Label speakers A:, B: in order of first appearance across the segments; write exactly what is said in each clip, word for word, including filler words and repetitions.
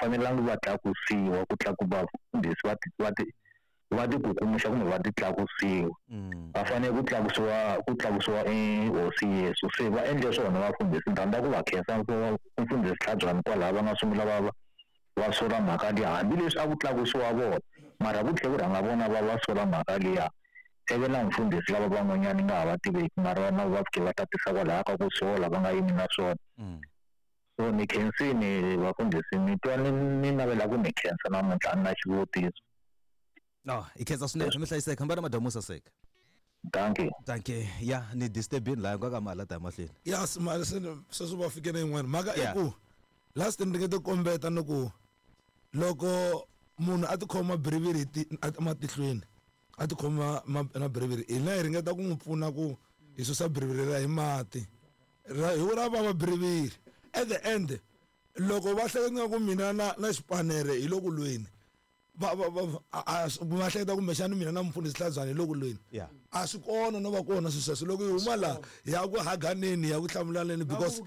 A: fanelangi va tlakusiwa ku tlakuka vafundhisi va ti va ti va ti kukumuxa kumbe va ti tlakusiwa. Va fanele ku tlakusiwa ku tlakusiwa i hosi Yesu. Se va endle swona vafundhisi, ni rhandza ku va khensa mfundhisi Tlhabyani kwalaho va nga sungula va va sola mhaka liya, hambileswi a ku tlakusiwa vona mara ku tlhela ku rhanga vona va va sola mhaka liya. Ivi na mfundhisi lava van'wanyana nga ha va tiveki mara na va fike va tatisa kwalaho ka ku sola va nga yimi na swona. So ni khensini vafundhisi, ni twa ni ni navela ku mi khensa namuntlha a ni na xivutiso.
B: No, i khensa swinene mi hlayiseka, hambana madamu saseka.
A: Thank you.
B: Thank you. Ya ni disturbing laha nga ka mali ta mahlweni.
C: Yes, mali se sweswo va fike na yin'wana mhaka i ku last ni ringete kombeta ni ku loko munhu a tikhoma briviri ematihlweni a tikhoma na briviri, hina hi ringeta ku n'wi pfuna ku hi susa briviri ra hi mati hi ra vava briviri. At the end loko va hleketa nga ku mina na na xipanere hi loko lweni va va va hleketa kumbexana mina na mfundhisi Tlhabyani hi loko lweni a swi kona no va kona swilo sweswo. Loko hi huma laha ya ku haganeni ya ku hlamulaneni because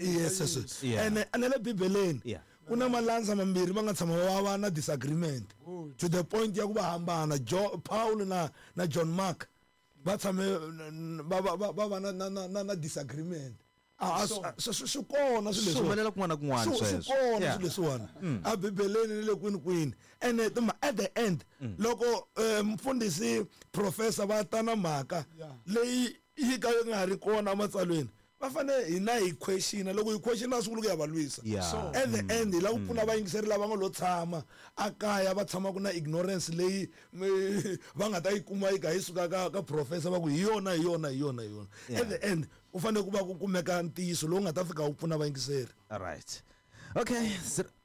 C: yes yes ene ene le Bibeleni ku na malandza mambirhi va nga tshama va va na disagreement to the point ya ku va hambana. Paul na na John Mark va tshame va va va va na na na na disagreement. A swi kona swilo leswi
B: humelela kun'wana na kun'wana
C: sweswo, swi kona swilo leswiwani a Bibeleni ni le kwini kwini. Ene at the end loko mfundhisi professor va ta na mhaka leyi yi ka yi nga ri kona ematsalweni, va fanele hina hi questiona. Loko hi questiona swi vula ku ya va lwisa. At the end hi lava ku pfuna vayingiseri lava nga lo tshama a kaya va tshamaka na ignorance leyi va nga ta yi kuma yi ka yi suka ka ka professor va ku hi yona hi yona hi yona hi yona. At the end u fanele ku va ku kumeka ntiyiso lowu nga ta fika wu pfuna vayingiseri.
B: All right. Okay,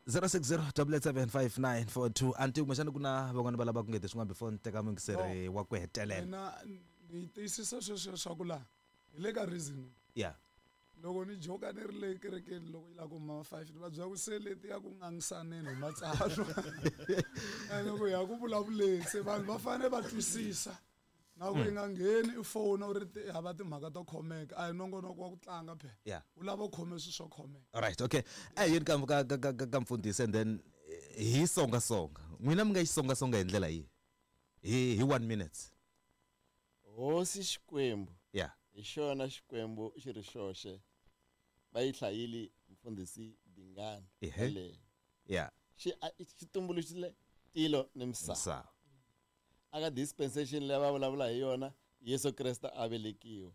B: zero six zero double eight seven five nine four two. Anti kumbexana ku na van'wana va lava ku ngeti swin'wana before ni teka muyingiseri wa ku hetelela.
D: Mina ni tiyisisa sweswo swa ku laha hi le ka reason.
B: Yeah.
D: Loko ni joka ni ri le kerekeni loko yi lava ku huma five ni va byela ku se leti ya ku ngangisaneni hi matsalwa ene ku ya ku vulavuleni se vanhu va fanele va twisisa na ku yi nga ngheni i fona u ri hava timhaka to khomeka a hi nongonoko wa ku tlanga phela u lava u khome swilo swo khomeka.
B: All right, okay. A yini ka ka ka ka mfundhisi and then hi songa songa n'wina mi nga yi songa songa hi ndlela yihi hi hi one minute.
E: Hosi Xikwembu
B: yeah
E: hi xona Xikwembu xi ri xoxe va yi hlayile mfundhisi Dingani le
B: yeah
E: xi xi tumbuluxile tilo ni misava. Aka dispensation leyi va vulavula hi yona Yesu Kreste a velekiwa.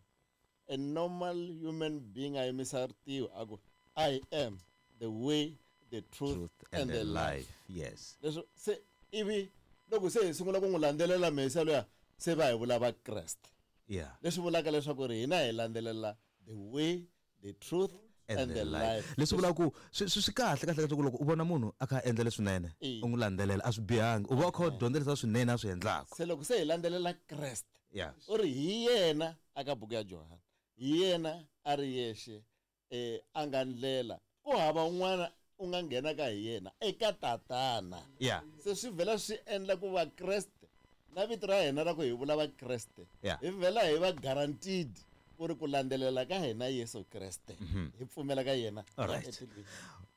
E: A normal human being a yimisa ritiho a ku I am the way, the truth,
B: truth
E: and, and the life.
B: life. Yes.
E: Leswo se ivi loko se hi sungula ku n'wi landzelela Mesiya luya se va hi vula va Kreste.
B: Yeah.
E: Leswi vulaka leswaku ri hina hi landzelela the way, the truth and, and the, the life.
B: Leswi vulaka ku swi swi kahle kahle kahle loko u vona munhu a kha a endla leswinene u n'wi landzelela a swi bihangi u va u kha u dyondza leswi swinene a swi endlaka.
E: Se loko se hi landzelela Kreste
B: yeah
E: u ri hi yena aka buku ya Johana hi yena a ri yexe eh a nga ndlela ku hava un'wana u nga nghena ka hi yena eka tatana.
B: Yeah.
E: Se swi vhela swi endla ku va Kreste na vito ra hina ra ku hi vula va Kreste hi vhela hi va guaranteed ku ri ku landzelela ka hina Yesu Kreste hi pfumela ka yena.
B: Alright.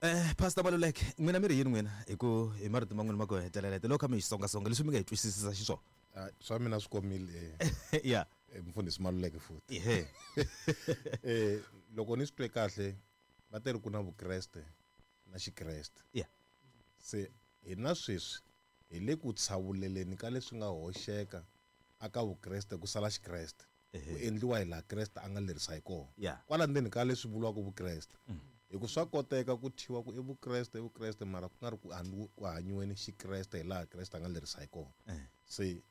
B: Eh Pastor Maluleke n'wina mi ri yini n'wina hi ku hi marito man'wana ma ku hetelela loko kha mi hi songa songa leswi mi nga hi twisisisa xiswona?
F: Swa mina swi komile eh
B: yeah
F: mfundhisi Maluleke futhi.
B: Ehe.
F: Eh loko ni swi twe kahle va teri ku na Vukreste na Xikreste.
B: Yeah.
F: Se hina sweswi hi le ku tshawuleleni ka leswi nga hoxeka aka Vukreste ku sala Xikreste. Ku endliwa hi laha Kreste a nga lerisa hi kona. Kwala ndzeni ka leswi vuriwaka Vukreste. Hi ku swa koteka ku thyiwa ku i Vukreste i Vukreste mara ku nga ri ku hanyiweni Xikreste hi laha Kreste a nga lerisa hi kona. Se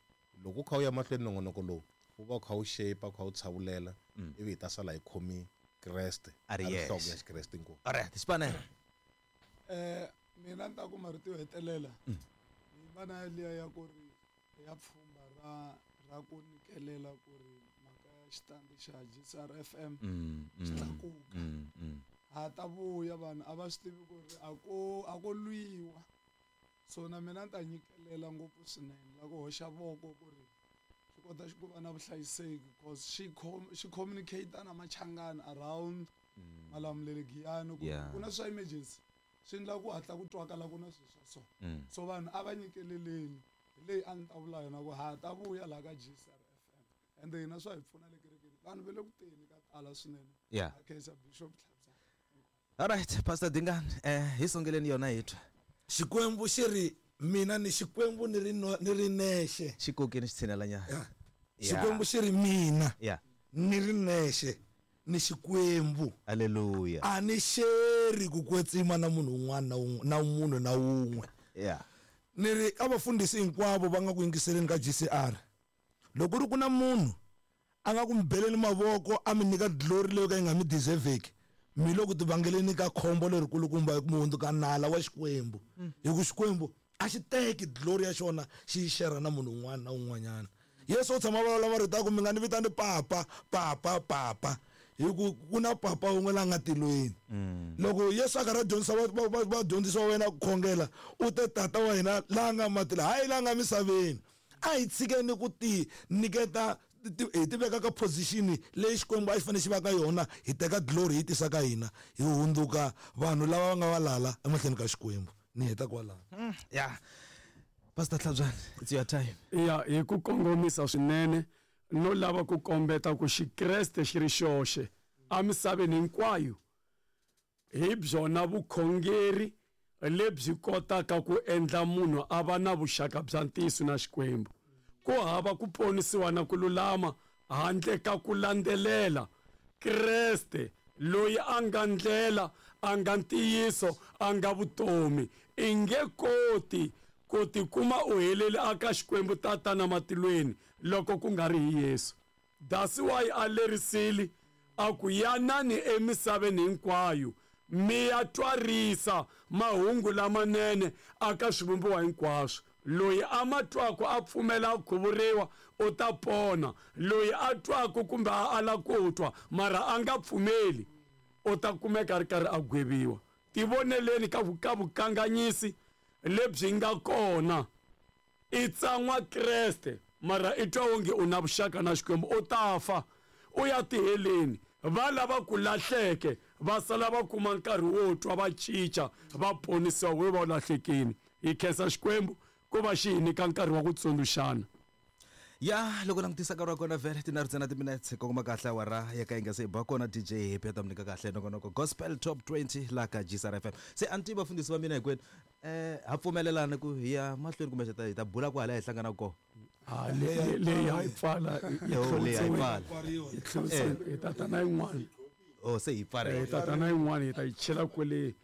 F: loko u kha u ya mahlweni nongonoko lowu wu va u kha wu shape u kha wu tshawulela ivi hi ta sala hi khomi Kreste
B: a ri
F: nhloko ya Xikreste inkomu.
B: Alright, Xipanere.
D: Eh mina ni ta ku marito yo hetelela ni vana liya ya ku ri ya pfhumba ra ra ku nyikelela ku ri mhaka ya xitandi xa G C R F M xi tlakuka. Ha ta vuya vanhu a va swi tivi ku ri a ko a ko lwiwa. So na mina ni ta nyikelela ngopfu swinene la ku hoxa voko ku ri swi kota ku va na vuhlayiseki because xi xi communicate na machangani around Malamulele Giyani ku ku na swa emergency. Swi endla ku hatla ku twakala ku na swilo swa so. So vanhu a va nyikeleleni hi leyi a ni ta vula yona ku ha ta vuya laha ka G C R F M. Ende hina swa hi pfuna le kerekeni. Vanhu va le ku teni ka tala swinene.
B: Yeah.
D: Ha khensa Bishop Tlhabza.
B: All right, Pastor Dingani, eh hi songeleni yona hi twa.
C: Xikwembu xi ri mina ni Xikwembu ni ri ni ri nexe.
B: Xikokeni xi tshinela nyana.
C: Xikwembu xi ri mina.
B: Yeah.
C: Ni ri nexe ni Xikwembu.
B: Hallelujah.
C: A ni xeri ku kwetsima na munhu un'wana na munhu na wun'we.
B: Yeah.
C: Ni ri ka vafundhisi hinkwavo va nga ku yingiseleni ka G C R. Loko ri ku na munhu a nga ku mi beleni mavoko a mi nyika glory leyo ka yi nga mi deserveki, mi loko ti vangeleni ka khombo lerikulukumba hi ku mi hundzuka nala wa Xikwembu. Hi ku Xikwembu a xi teki glory ya xona xi yi share na munhu un'wana na un'wanyana. Yesu u tshama vulavula marito ya ku mi nga ni vitani papa, papa, papa. Hi ku ku na papa wun'we la nga tilweni. Loko Yesu a karhi a dyondzisa vadyondzisi va wena ku khongela, u te tata wa hina la nga matilo, hayi la nga misaveni. A hi tshikeni ku ti nyiketa hi ti veka ka position leyi Xikwembu a xi fanele xi va ka yona, hi teka glory hi tisa ka hina, hi hundzuka vanhu lava va nga valala emahlweni ka Xikwembu. Ni heta kwalano.
B: Yeah. Pastor Tlhabzani, it's your time.
G: Yeah, hi ku kongomisa swinene no lava ku kombeta ku Xikreste xi ri xoxe emisaveni hinkwayo hi byona vukhongeri lebyi kotaka ku endla munhu a va na vuxaka bya ntiyiso na Xikwembu. Ku hava ku ponisiwa na ku lulama handle ka ku landzelela Kreste loyi a nga ndlela, a nga ntiyiso, a nga vutomi. I nge koti ku tikuma u helele aka Xikwembu Tatana matilweni loko ku nga ri hi Yesu. That's why a lerisile a ku yanani emisaveni hinkwayo mi ya twarisa mahungu lamanene aka swivumbiwa hinkwaswo. Loyi a ma twaka a pfumela ku khuvuriwa u ta pona, loyi a twaka kumbe a ala ku twa mara a nga pfumeli u ta kumeka a ri karhi a gweviwa. Tivoneleni ka ka vukanganyisi lebyi nga kona. I tsan'wa Kreste mara i twa onge u na vuxaka na Xikwembu, u ta fa u ya tiheleni. Va lava ku lahleke va sala va kuma nkarhi wo twa va cinca va ponisiwa we va lahlekini. Hi khensa Xikwembu ku va xi hi nyika nkarhi wa ku tsundzuxana.
B: Ya loko langutisa nkarhi wa kona vhele tinharhu ntsena timinetse kongoma kahle awara ya ka yi nga se ba kona D J Happy ta mi nyika kahle nongonoko Gospel Top twenty la ka G C R F M. Se a ni tivi vafundhisi va mina hinkwenu eh ha pfumelelana ku hi ya mahlweni kumbe hi ta bula kwala hi hlangana kona.
G: Ah le le ya yi pfala yi tlhontsiwe hi tata na yin'wana.
B: Oh se yi pfare
G: hi tata na yin'wana hi ta yi chela kwale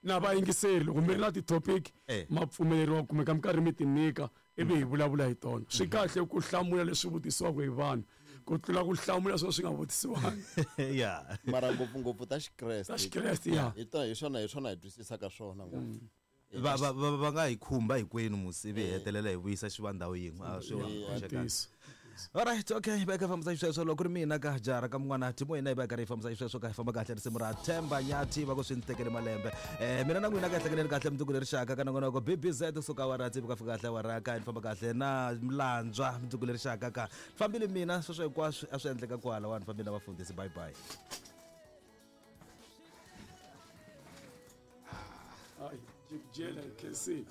G: na vayingiseri. Loko mi ri na ti-topic ma pfumeleriwa kumeka mi karhi mi ti nyika ivi hi vulavula hi tona. Swi kahle ku hlamula leswi vutisiwaka hi vanhu ku tlula ku hlamula swo swi nga vutisiwangi.
B: Yeah.
E: Mara ngopfungopfu ta Xikreste.
G: Ta Xikreste, yeah.
E: Hi tona hi swona hi swona hi twisisaka swona ngopfu.
B: Va va va nga hi khumba hinkwenu musi ivi hi hetelela hi vuyisa xi va ndhawu yin'we. A swi hoxekangi. All right, okay, va ka fambisa xisweswo loko ri mina ka jara ka mun'wana Timo hina hi va karhi hi fambisa xisweswo ka hi famba kahle risimu ra Themba Nyathi va ku swi ni tekele malembe. Eh mina na n'wina ka hlekeleni kahle mundzuku leri xaka ka nongonoko B B Z kusuka awara tsevu ka fika kahle awara ka ni famba kahle na Mlandzwa mundzuku leri xaka ka fambile mina sweswo hinkwaswo a swi endleka kwala wa ni fambile na vafundhisi. Bye bye.
G: Ai, jela ke se.